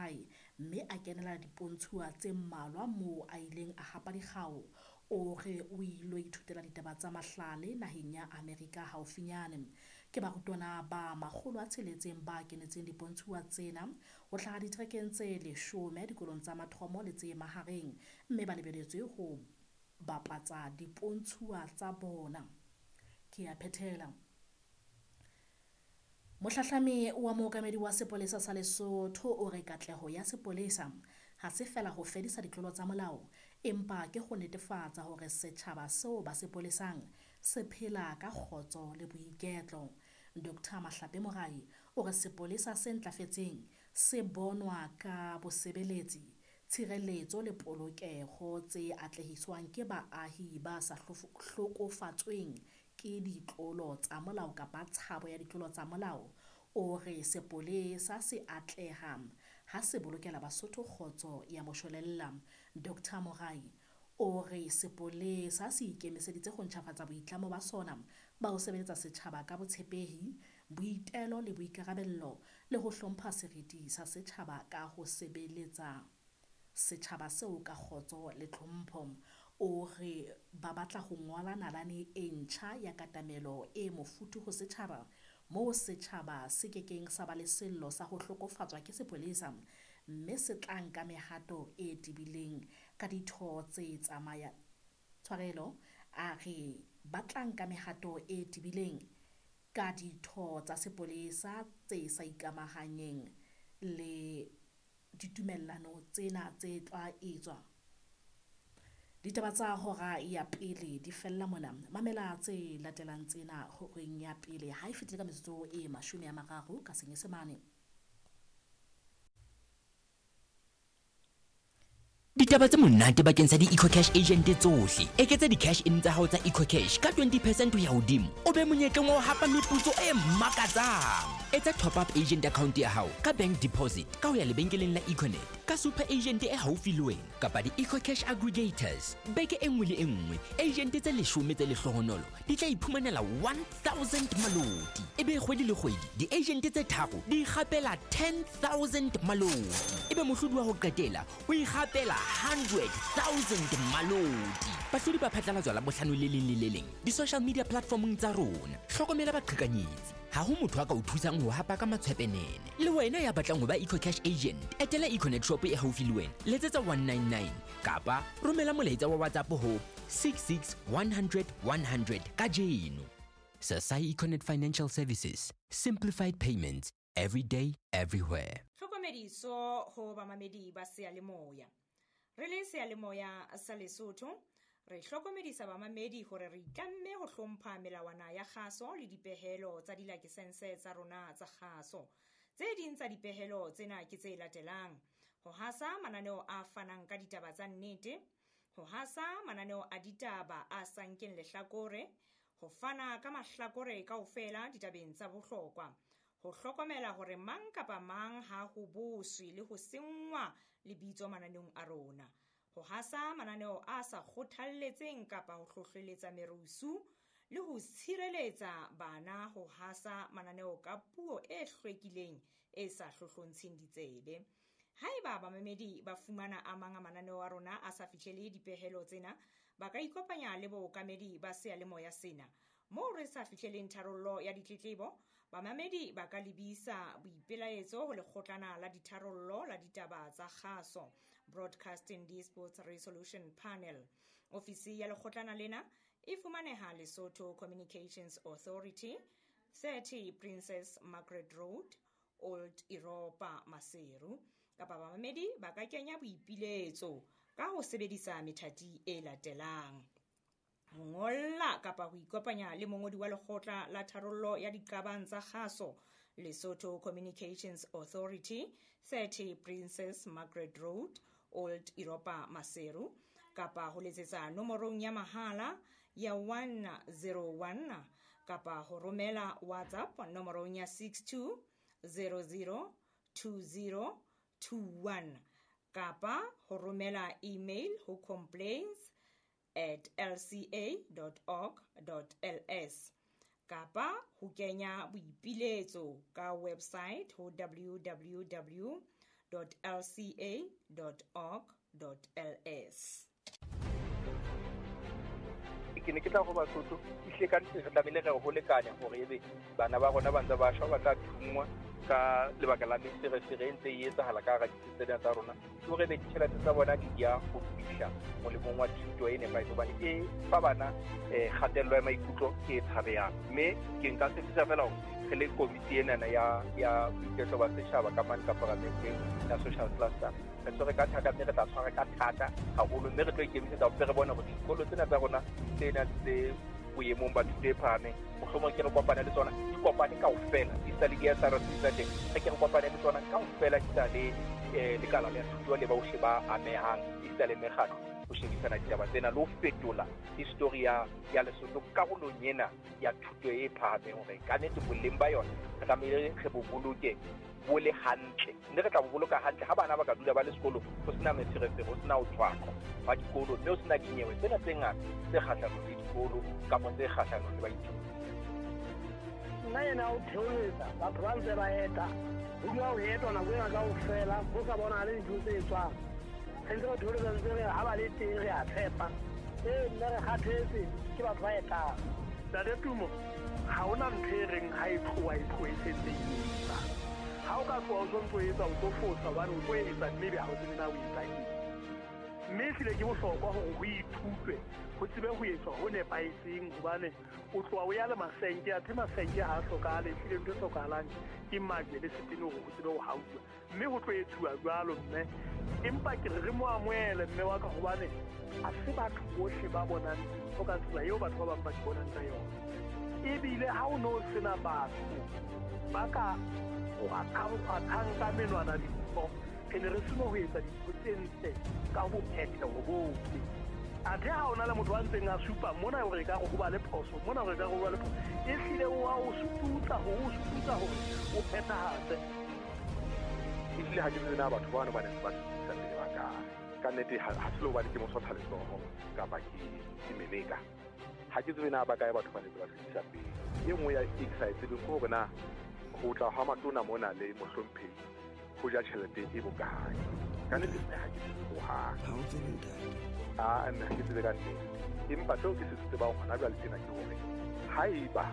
hae mme a kenela dipontshuwa tse mmalwa moo a ileng a hapa dikgau. O re o ilo ithutela ditaba tsa mahlale naheng ya Amerika haufinyane. Ke barutwana ba 600 ba kenetseng dipontshuwa tsena ho hlaha diterekeng tse 10 dikolong tsa mathomo le tse mahareng, mme ba lebeletswe ho bapatsa dipontshuwa tsa bona. Ke a phethela. Mohlahlami wa mookamedi wa sepolesa sa Lesotho o re katleho ya sepolesa ha se fela ho fedisa ditlolo tsa molao, empa ke ho netefatsa hore setjhaba seo ba se polesang se phela ka kgotso le boiketlo. Dr. Mahlape Morai o re sepolesa se ntlafetseng se bonwa ka bosebeletsi, tshireletso le polokeho tse atlehiswang ke baahi ba sa hlokofatsweng ke ditlolo tsa molao kapa tshabo ya ditlolo tsa molao. O re sepolesa se atleha ha se bolokela Basotho kgotso ya moshwelella. Dr. Morai o re sepolesa se ikemiseditse ho ntjhafatsa boitlamo ba sona ba ho sebeletsa setjhaba ka botshepehi, boitelo le boikarabello, le ho hlompha seriti sa setjhaba ka ho sebeletsa setjhaba seo ka kgotso le tlhompho. O re ba batla ho ngola nalane e ntjha ya katamelo e mofuthu ho setjhaba, moo setjhaba se kekeng sa ba le sello sa ho hlokofatswa ke sepolesa, mme se tla nka mehato e tebileng ka ditho tse tsamaya tshwarelo. A re ba tla nka mehato e tebileng ka ditho tsa sepolesa tse sa ikamahanyeng le ditumellano tsena tse tla etswa. Ditaba tsa hora ya pele di fella mona. Mamela tse latelang tsena horeng ya pele ha e fetile ka metsotso e 30 ka Senyesemane. Ditaba tse monate bakeng sa di-EcoCash agent tsohle. Eketsa di-cash in tsa hao tsa EcoCash ka 20% ho ya hodimo, o be monyetleng wa ho hapa meputso e makatsang. Etsa top up agent account ya hao ka bank deposit ka ho ya lebenkeleng la Econet, ka super agent e haufi le wena kapa di-EcoCash aggregators. Beke e nngwe le e nngwe, agent tse 10 tse lehlohonolo di tla iphumanela 1000 maloti. Ebe kgwedi le kgwedi di-agent tse 3 di ikgapela 10,000 maloti. Ebe mohlodi wa ho qetela o ikgapela 100,000 maloti. Bahlodi ba phatlalatswa Labohlano le leng le le leng di-social media platformong tsa rona. Hlokomela baqhekanyetsi. Ha ho motho a ka o thusang ho hapa ka matshwepenene. Le wena ya batlang ho ba EcoCash agent, etela Econet shop e haufi le wena, letsetsa 199 kapa romela molaetsa wa WhatsApp ho 66 100 100 kajeno. Sasai Econet Financial Services, simplified payments every day, everywhere. Tlhokomediso ho bamamedi ba seyalemoya. Re le seyalemoya sa Lesotho, re hlokomedisa bamamedi hore re itlamme ho hlompha melawana ya kgaso le dipehelo tsa dilakesense tsa rona tsa kgaso. Tse ding tsa dipehelo tsena ke tse latelang: ho hasa mananeo a fanang ka ditaba tsa nnete, ho hasa mananeo a ditaba a sa nkeng lehlakore, ho fana ka mahlakore kaofela ditabeng tsa bohlokwa, ho hlokomela hore mang kapa mang ha ho boswe le ho senngwa lebitso mananeong a rona, ho hasa mananeo a sa kgothalletseng kapa ho hlohleletsa merusu, le ho tshireletsa bana ho hasa mananeo ka puo e hlwekileng e sa hlohlontsheng ditsebe. Haeba bamamedi ba fumana a mang a mananeo a rona a sa fihlele dipehelo tsena, ba ka ikopanya le bookamedi ba seyalemoya sena. Moo re sa fihleleng tharollo ya ditletlebo, bamamedi ba ka lebisa boipelaetso ho lekgotlana la ditharollo la ditaba tsa kgaso, Broadcasting Disputes Resolution Panel. Ofisi ya lekgotlana lena e fumaneha Lesotho Communications Authority, 30 Princess Margaret Road, Old Europa, Maseru. Kapa bamamedi ba ka kenya boipiletso ka ho sebedisa methati e latelang: ho ngolla kapa ho ikopanya le mongodi wa lekgotla la tharollo ya diqabang tsa kgaso, Lesotho Communications Authority, 30 Princess Margaret Road, Old Europa, Maseru, kapa ho letsetsa nomorong ya mahala ya 101 kapa ho romela WhatsApp nomorong ya 62 00 20 21 kapa ho romela email ho complaints@lca.org.ls kapa ho kenya boipiletso ka website ho www.lca.org.ls. lca org ls. Ke ne ke tla go Basotho ehlile ka nnete re tlamehile re ho lekanya hore ebe bana ba rona ba ntse ba shwa, ba tla thungwa ka lebaka la meferefere e ntse e etsahala ka hara ditsi tsena tsa rona, ke hore ebe ditjhelete tsa bona di ya ho fihla molemong wa thuto e nepahetseng, hobane e fa bana kgatello ya maikutlo e tshabehang. Mme ke nka tshepisa feela hore re le komiti enana ya boiketlo ba setjhaba ka mane ka paramenteng ya social cluster, re tshwere ka thata, mme re tla tshwara ka thata haholo, mme re tlo ikemisetsa hore re bone hore dikolo tsena tsa rona tsena tse boemong ba thuto e phahameng, mohlomong ke re kopane le tsona, di kopane kaofela, di sa le di-S_R_C tsa teng, re ke re kopane le tsona kaofela, di sa le lekala la thuto le bohle ba amehang, esita le mekgatlo, ho shebisana ditaba tsena le ho fetola history ya Lesotho karolong ena ya thuto e phahameng, hore ka nnete boleng ba yona re tlamehile re bo boloke bo le hantle, mme re tla bo boloka hantle ha bana ba ka dula ba le sekolong, ho sena meferefere, ho sena ho tshwaqwa ba dikolo, mme ho sena dinyewe tsena tse ngata tse kgahlanong le dikolo kapa tse kgahlanong le baithuti. Nna ena o theoletsa batho ba ntse ba eta, ho dula ho etwa nako ena kaofela, ho sa bonahale dintho tse etswang. Re ntse re theoletsa ntse re ha ba le teng re a tshepa. Ee, nna re kgathetse ke batho ba etang. Ntate Tumo, ha hona ntho e reng ha e tloha e tlohe e sentse e etsa. Ha o ka tloha o sontso o etsa, o tlo fosa hobane o tlo etsa mme ebe ha o tsebe na o etsa eng. Mme ehlile ke bohlokwa hore ho ithutwe, ho tsebe ho etswa ho nepahetseng, hobane o tloha o ya le masenke, athe masenke ha a hlokahale, ehlile ntho e hlokahalang ke majwe le setene hore ho tsebe ho hauwa. Mme ho tlo etsuwa jwalo mme, empa ke re re mo amohele mme wa ka, hobane ha se batho bohle ba bonang dintho ka tsela eo batho ba bang ba di bonang ka yona. Ebile ha o no sena batho ba ka kgwathang ka menwana dintho, re ne re seno ho etsa dintho tse ntle ka bophetheho bohle. Athe ha ona le motho a ntseng a supa mona hore e ka re ho ba le phoso, mona hore e ka re ho ba le phoso, ehlile o a o sututsa hore o sututsa hore o phethahatse. Ehlile ha ke tsebe na batho bano ba neng ba sutisa pele ba kae. Ka nnete ha se le hobane ke mosotha letsoho kapa ke meleka. Ha ke tsebe na ba kae batho ba neng ba sutisa pele. E nngwe ya e ke sa e tsebeng ke hore na ho tla ha matona mona le mohlomphehi ho ja tjhelete e bokae. Ka nnete mme ha ke tsebe hohang. Ha o tsebe ntate. Ah, mme ha ke tsebe ka nnete. Empa seo ke se tsebang hona jwale tjena ke hore haeba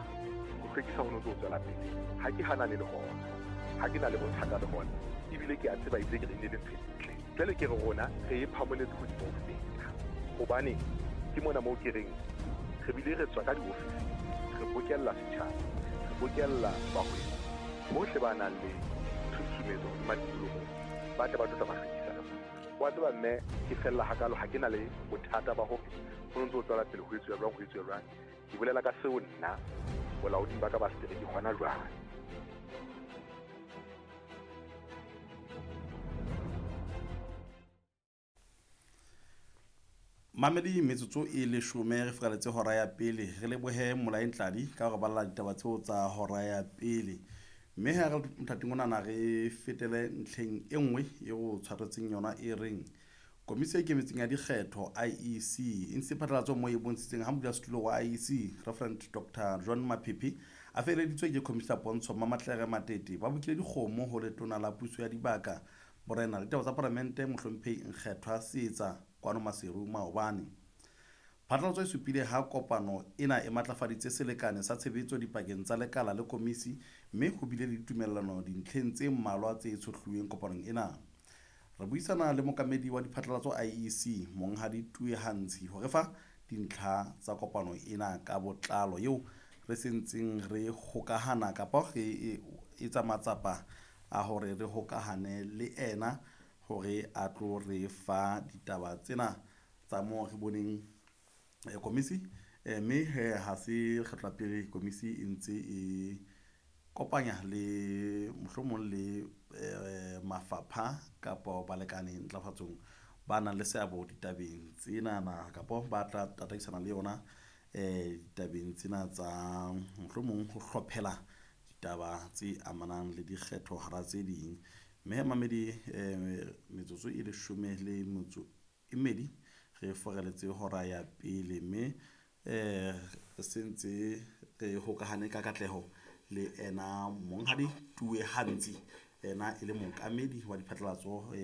ho hlwekisa ho no ntso tswela pele, ha ke hanane le hona, ha ke na le bothata le hona, ebile ke a tseba ebile ke re ne le ntho e ntle. Jwale ke re rona re e phamoletse hodimo ho feta, hobane ke mona moo ke reng re bile re tswa ka diofising, re bokella setjhaba, re bokella bahwebi bohle ba nang le tshusumetso hodima tikoloho, ba tle ba tlo tla ba hlwekisa le bona. Wa tseba mme ke fella hakalo, ha ke na le bothata ba hore ho ntso tswela pele ho etsuwa jwang, ho etsuwa jwang. Ke bolela ka seo nna bolaoding ba ka ba setereke hona jwale. Mamedi metsotso e leshome re furaletse hora ya pele, re lebohe Molae Ntladi ka hore balla ditaba tseo tsa hora ya pele. Mme ha re mothating onana re fetele ntlheng e nngwe e o tshwaretseng yona e reng Komisi e Ikemetseng ya Dikgetho IEC e ntshitse phatlalatso moo e bontshitseng ha modulasetulo wa IEC Reverend Dr John Maphephe a feleditswe ke Commissioner Pontsho Mamatlere Matete ba bokile dikgomo ho letona la puso ya dibaka borena le ditaba tsa palamente mohlomphehi Nkgethwa Seetsa kwano Maseru maobane. Phatlalatso e supile ha kopano ena e matlafaditse selekane sa tshebetso dipakeng tsa lekala le komisi, mme ho bile le ditumellano dintlheng tse mmalwa tse tshohluweng kopanong ena. Re buisana le mokamedi wa diphatlalatso IEC Monghadi Tue Hantshi hore fa dintlha tsa kopano ena ka botlalo eo re sentseng re hokahana kapa re etsa matsapa a hore re hokahane le ena hore a tlo re fa ditaba tsena tsa moo re boneng komisi, mme ha se kgetlo la pele komisi e ntse e kopanya le mohlomong le mafapha kapa balekane ntlafatsong ba nang le seabo ditabeng tsenana kapa ba tla tataisana le yona ditabeng tsena tsa mohlomong ho hlophela ditaba tse amanang le dikgetho hara tse ding. Mme mamedi metsotso e leshome le metso e mmedi re foreletse hora ya pele, mme re sentse re hokahane ka katleho le ena Monghadi Tue Hantshi Yena e le mookamedi wa diphatlalatso